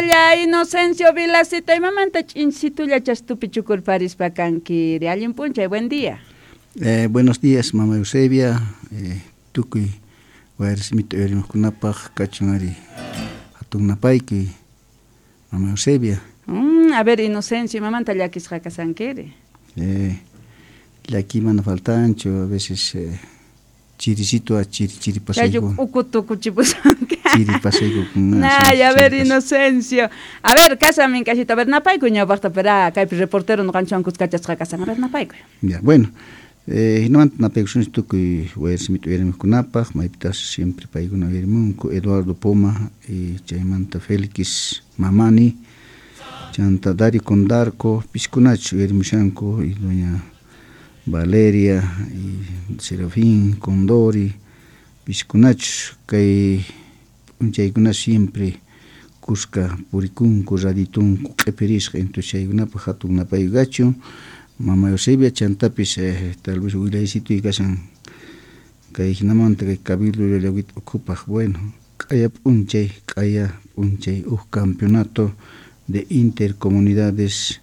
Inocencio Vilacita, imamanta ch'insitulla chastupi chukurparispa kankiri. Allin p'unchay, buen día. Buenos días, mama Eusebia, tukuy wayrasimita uyarimuqkunapaq kachun ari hatun napaykuy, mama Eusebia. A ver, Inocencio, imamanta llakisqa kasankiri? Llaki mana faltanchu, a veces chirisito a chiri chiri pasayku. Uku tukuchipusanki. Chiri pasayku. Ay, a ver, Inocencio. A ver, kasa minkashita, a ver, napaykuy ñawpaqta, pero kaypi reportero ñuqanchikwan kuskachasqa kasan. A ver, napaykuy. Ya, bueno. Hinamanta napaykusunchik tukuy wayrasimita uyarimuqkunapaq, maypitas siempre paykuna uyarimunku, Eduardo Poma y chaymanta Félix Mamani, chanta Dario Condarco, piskunachu uyarimushanku, y doña Valeria y Serafín Condori, piskunachus kay p'unchaykuna siempre kuska purikunku, raditunku q'ipirisqa, entonces chaykunapaq hatun napaykuy kachun. Mama Eusebia, chantapis tal vez willaysituy kashan kay hinamanta kay Cabildo Llallawita ukhupaq, bueno, q'aya p'unchay huk campeonato de intercomunidades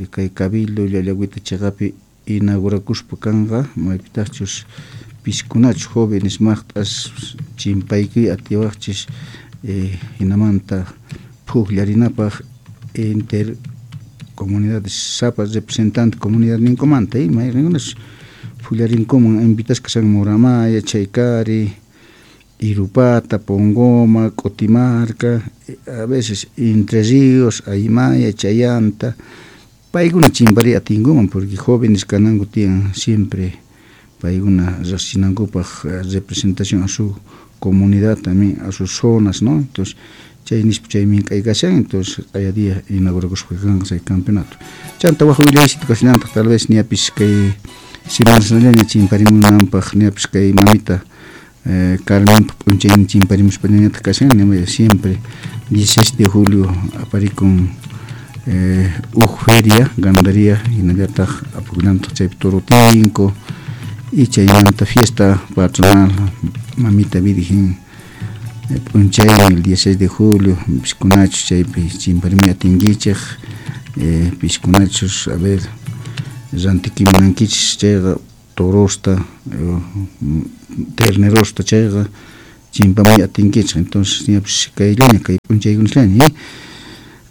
kay Cabildo Llallawita chiqapi inaugurakuspa kanqa, maypitaqchus piskunachus jóvenes maqt'as chimpaykuy atiwaqchis hinamanta phukllarinapaq inter comunidades sapa representante comunidad ninkumanta, mayqinkunas phullarinkuman invitasqa kashan Muramaya, Chaykari, Irupata, Pongoma, K'utimarka, a veces Entre Ríos, Aymaya, Chayanta, paykuna chimpariy atinkuman porque jóvenes kananku tiyan siempre paykuna riqsinankupaq representación a su comunidad también, a sus zonas, ¿no? Entonces chay nispa chay mink'ay kashan, entonces q'aya día inaugurakuspa kanqa chay campeonato. Chanta waj willaysita kashallantaq tal vez ñapis kay semanasllaña chimparimunanpaq, ñapis kay mamita Carmenpa p'unchaynin chimparimuspañañataq kashan, siempre 16 de julio aparikun uj feria, ganadería, hinallataq apakullantaq chaypi toro tinko y chaymanta fiesta patronal mamita virgen p'unchaynin el 16 de julio, piskunachus chaypi chimparimuy atinkichik, piskunachus a ver rantikimunankichis chayqa torosta, ternerosta chayqa chimpamuy atinkichik, entonces ñapis kayllaña kay p'unchaykunasllaña,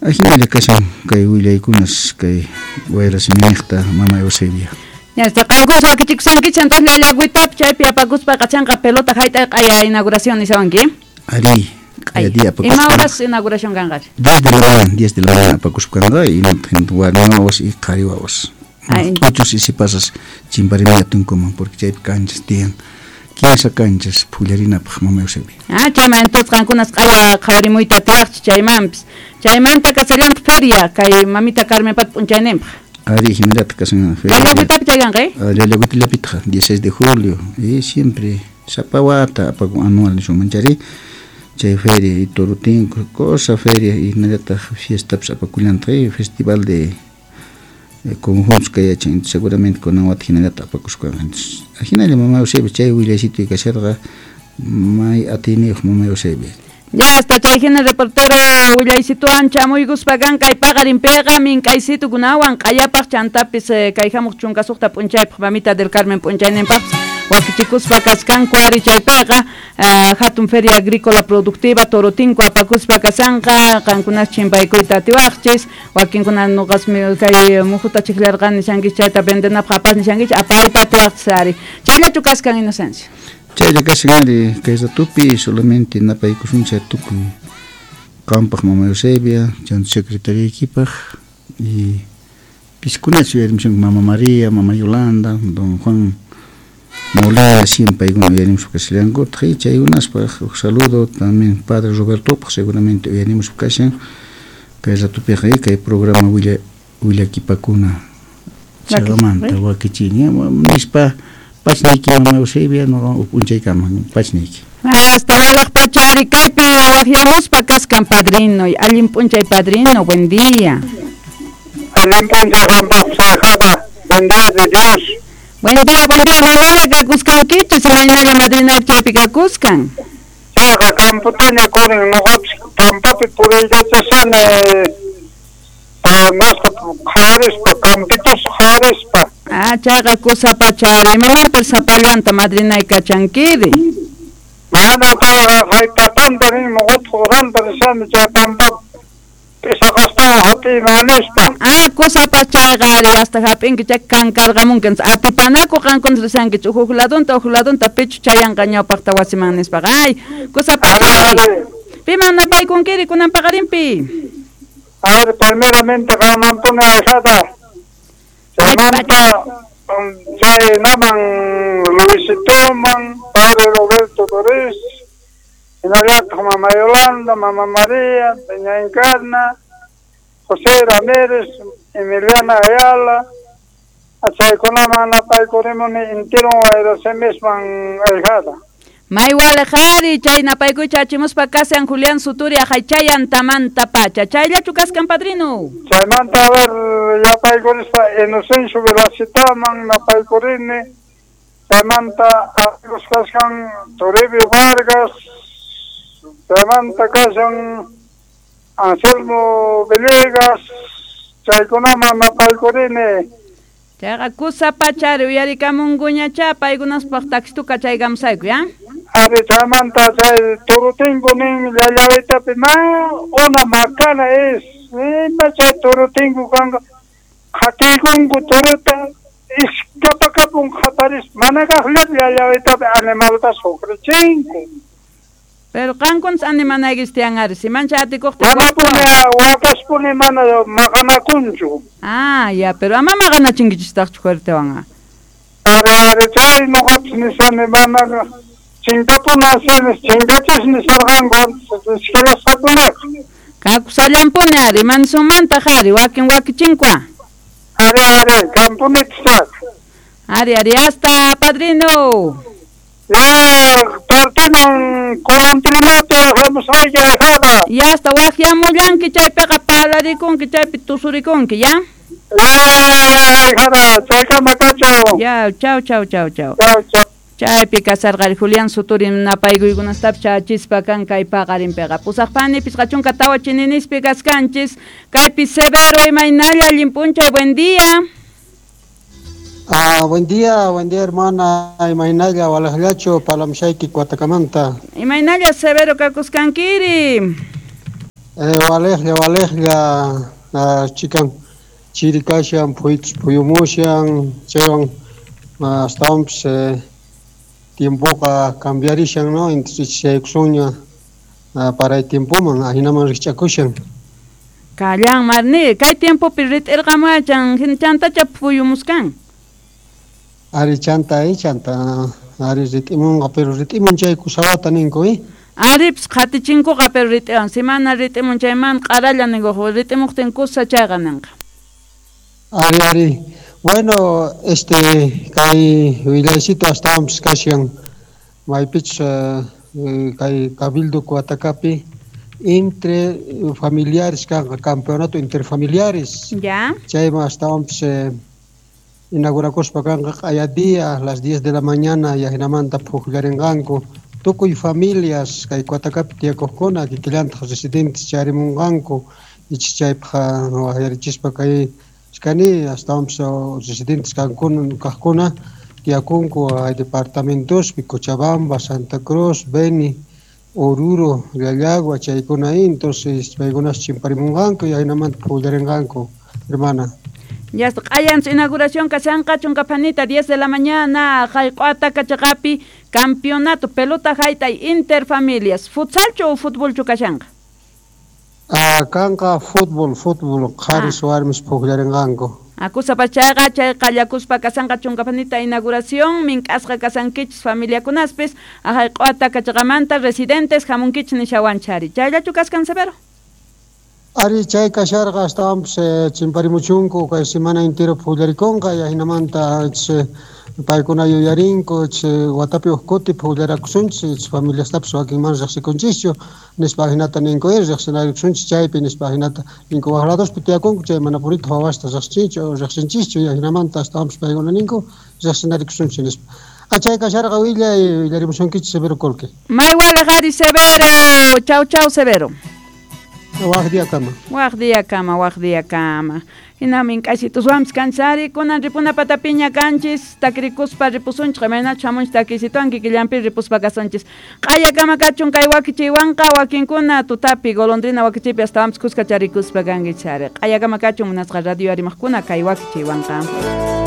ajinalla kashan kay willaykunas kay wayrasimiñiqta mama Eusebia. Ya está, qankus wakichikushankichik, entonces Llallawitapi chaypi apakuspa qachanqa pelota hayt'ay q'aya inauguración nishawanki. Ari, q'aya día apakuspa. Ima horas inauguración kanqachi? 10 de la mañana, 10 de la mañana apakuspa kanqa, y warmi wawas y qhari wawas. Uchus y sipasas chimparimuy atinkuman porque chaypi canchas tiyan, 15 canchas phullarinapaq mama Eusebia. Chayman entonces qankunas q'aya qhawarimuyta atiwaqchis chaymanpis. Chaymanta kasallantaq feria kay mamita Carmenpata p'unchayninpaq. Ari, hinallataq kashan feria. Llallawitapi chay kanqa, Llallawitallapitaq 16 de julio, y siempre sapa wata apakun anual nisunman chayri, chay feria y toro tinko, cosa feria y hinallataq fiestapis apakullantaq, festival de conjuntos kay yachan, seguramente kunan wata hinallataq apakusqa entonces ajinalla mama Eusebia chay willaysituy kasharqa may atiyniyuq mama Eusebia. Ya hasta chay hina reportero willaysituwan chamuykuspa kan kay paqarinpiqa mink'aysitukunawan q'ayapaq chantapis kay hamuq 16 p'unchaypaq mamita del Carmen p'unchayninpaqpis wakichikuspa kachkanku ari chaypiqa hatun feria agrícola productiva torotinko apakuspa kasanqa qankunas chimpaykuyta atiwaqchis, wakinkuna nuqasmi kay mujuta chiqllarqani nishankichis chayta vendenapaq apas nishankichis apayta atiwaqchis ari. Chayllachu kaskan Inocencio? Chaylla kashan ari kay ratupi solamente napaykusunchik tukuy qampaq mama Eusebia, chanta secretariaykipaq y piskunachu uyarimushanku mama María, mama Yolanda, don Juan Molina, siempre paykuna uyarimuspa kashallankutaq y chaykunaspaq huk saludo también padre Robertopaq seguramente uyarimuspa kashan kay ratupiqa kay programa willakipakuna chaqamanta wakichini nispa pachniyki mama Eusebia nuqa p'unchaykama pachniyki. Hasta walaq pacha ari kaypi waqyamuspa kaskan padrino, allin p'unchay padrino, buen día. Allin p'unchay qampaq sayqaqa, buen día de Dios. Buen día, imaynalla kakuskankichis, imaynalla madrina chaypi kakuskan. Chayqa camputaña kunin noqapis pampapi puriykachashani masqa qhawarispa campitos qhawarispa. Ah, chayqa kusapachari imamanpis sapallanta madrinay kachankiri. Mana payqa haytatanta nin noqataq uranta rishani chay pampapi p'isaqastawan hap'iyman nispa. Ah, kusapas chayqa ari hasta hap'inki chay kankarqamunki atipanaku qankuna rishankichik huk ladunta pichu chayanqa ñawpaqta wasiman nispaqa. Ay, kusapachari. Piman napaykunkiri kunan paqarinpi? A ver, primeramente qanmanpuni ahijada. Chaymanta chay naman Luisitoman, padre Roberto Torres, hinallataq mama Yolanda, mama María, doña Encarna, José Ramírez, Emiliana Ayala, chaykunaman napaykurimuni intiron wayrasemisman ahijada. May walejari chay napaykuy chachimuspa kashan Julián Suturi ajay tamanta pacha. Chayllachu kaskan padrino. Chaymanta a ver yapaykurispa Inocencio Velacitaman napaykurini. Chaymanta amigos kashan Toribio Vargas. Chaymanta kashan Anselmo Villegas. Chaykunaman napaykurini. Chayqa kusapachari uyarikamunkuñacha paykunaspaq taxituka chaykamusayku, ya? Ari chaymanta chay turutingu nin llallawitapi ma una macana es ima chay turutingu kanqa qhatiykunku turuta iskapakapun qhaparis mana kaqllapi llallawitapi animalta sufrichinku. Pero qankunas animanaykichis tiyan ari si mancha atikuqtin manapuni wakaspuni mana maqanakunchu. Ah, ya, pero ama maqanachinkichistaqchu fuertewan. Ari ari chay noqapis nishani mana chinkapuna asinis chinkachis nisarqanku iskalasqakunaqa. Kakusallampuni ari manisumantaq ari wakin wakichinkua. Ari ari kampunitaq. Ari ari hasta padrino. Ya partiman kulantrimapi hamusqayki ahijada. Ya hasta waqyamullanki chaypiqa parlarikunki chaypi tusurikunki, ya? Ya ahijada chaykama kachun. Ya, chau chau chau chau. Chau chau. Chaypi kasarqari Julián Suturi napaykuykunastapis chachispa kan kay paqarinpiqa. Pusaqpani 54 chininispi kaskanchis kaypi Severo imaynalla allin p'unchay, buen día. Ah, buen día hermana, imaynalla walajllachu palamshayki Cuatacamanta. Imaynalla Severo kakuskankiri. Walejlla walejlla chikan chirikashan phuyumushan chaywan astawanpis tiempoqa cambiarishan, ¿no? Intichaykusunña para el tiempoman ahinaman rikch'akushan. Kallan marni kay tiempopi rit'irqamuachan chantacha phuyumuskan. Ari chanta ari rit'imunqa pero rit'imun chay kusawata ninku Aripis qhatichinkuqa pero rit'iwan simana rit'imun chayman q'aralla ninku rit'imuqtin kusa chayqa ninqa. Ari ari bueno kay willaycito astawanpis kashan maypichus kay Cabildo Coatacapi entre familiares kanqa campeonato interfamiliares. Ya. Chayman astawanpis inaugurakuspa kanqa q'aya día a las 10 de la mañana y ajinamanta phuqllarinqanku tukuy familias kay Coatacapi tiyakuqkuna kikillantaq residentes charimunqanku ichis chaypaq waqyarichispa kay iskani astawanpis residentes kaqkuna tiyakunku hay departamentospi Cochabamba, Santa Cruz, Beni, Oruro, Llallagua chaykuna entonces paykunas chimparimunqanku y ajinamanta phuqllarinqanku hermana. Ya está, q'ayan inauguración kashanqa chunkapanita 10 de la mañana Jayq'ata chaqapi campeonato pelota haytay interfamilias futsalchu o futbolchu kashanqa. Ah, kanqa fútbol qharis warmis phuqllarinqanku. Akusapachayqa chay qallakuspa kashanqa chunkapanita inauguración mink'asqa kasankichis familiakunaspis Jayq'ata kachaqamanta residentes hamunkichis nishawanchari. Chayllachu kaskan Severo? Ari chay kasharqa astawanpis chimparimuchunku kay semana entero phullarikunqa y ajinamanta paykuna yuyarinku watapi huk kuti phullarakusunchis familiastapis wakinman riqsikunchischu nispa ajinata ninku riqsinarikusunchis chaypi nispa ajinata ninku waq ladospi tiyakunku chay mana purita wawasta riqsinchischu y ajinamanta astawanpis paykuna ninku riqsinarikusunchis nispa. Achay kasharqa willay willarimusunkichik Severo Colque. May walej Severo. Chau chau Severo. Waj día kama. Waj día kama, waj día kama. Hina mink'asituswanpis kanchari kunan ripuna patapiña kanchis takirikuspa ripusunchik imaynachu hamunchik takisituwan kikillanpi ripuspa kasunchis q'aya kama kachun kay wakichiywanqa wakinkuna tutapi golondrina wakichiypi astawanpis kuska charikuspa kankichari q'aya kama kachun munasqa radio arimaqkuna kay wakichiywanqa.